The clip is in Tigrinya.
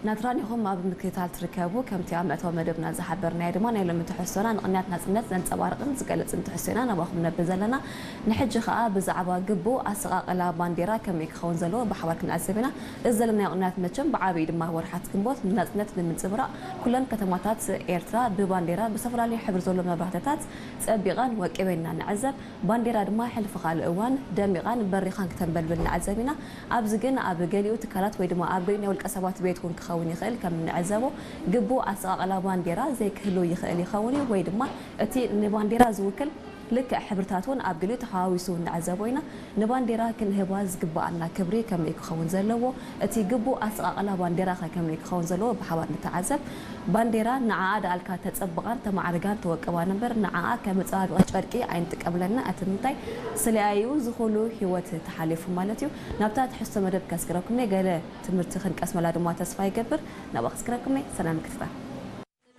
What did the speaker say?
ናትራን ኢኹም ኣብ ምክትታል ትርከቡ። ከምቲ ኣብ መእተዊ መደብና ዝሓበርናዮ ድማ፣ ናይ ሎሚ ትሕዝቶና ንቕንያት ናጽነት ዘንጸባርቕን ዝገልጽን ትሕዝቶ ኢና ናባኹም ነብል ዘለና። ንሕጂ ኸኣ ብዛዕባ ግቡእ ኣሰቓቕላ ባንዴራ ከመይ ክኸውን ዘለዎ ብሓባር ክንዕዘብ ኢና። እዚ ዘለናዮ ቅንያት መቸም ብዓብዪ ድማ ወርሓት ግንቦት ንናጽነት ንምንጽብራቕ ኩለን ከተማታት ኤርትራ ብባንዴራ ብዝተፈላለዩ ሕብሪ ዘሎ መብራህትታት ጸቢቐን ወቂበን ኢና ንዕዘብ። ባንዴራ ድማ ሕልፊ ካልእ እዋን ደሚቓን በሪኻን ክተንበልብል ንዕዘብ ኢና። ኣብዚ ግን ኣብ ገሊኡ ትካላት ወይ ድማ ኣብ ገሊኡ ናይ ውልቀ ሰባት ቤት እውን ክኸውን ይኽእል። ከም እንዕዘቦ ግቡእ ኣሰቓቕላ ባንዴራ ዘይክህሉ ይኽእል ይኸውን እዩ፣ ወይ ድማ እቲ ንባንዴራ ዝውክል ልክዕ ሕብርታት እውን ኣብ ገሊኡ ተሓዋዊሱ ንዕዘቦ ኢና። ንባንዴራ ክንህባ ዝግብኣና ክብሪ ከመይ ክኸውን ዘለዎ፣ እቲ ግቡእ ኣሰቓቕላ ባንዴራ ከ ከመይ ክኸውን ዘለዎ ብሓባር ንተዓዘብ። ባንዴራ ንዓኣ ደኣልካ ተጸብቓን ተማዕርጋን ተወቅባን እምበር፣ ንዓኣ ከም መጸባበቒ ጨርቂ ኣይንጥቀምለና። እቲ ምንታይ ስለያዩ ዝኹሉ ህይወት ተሓሊፉ ማለት እዩ። ናብታ ትሕዝቶ መደብ ከስግረኩም እየ። ገለ ትምህርቲ ክንቀስመላ ድማ ተስፋ ይገብር። ናብኣ ከስግረኩም እየ። ሰናይ ምክትታል።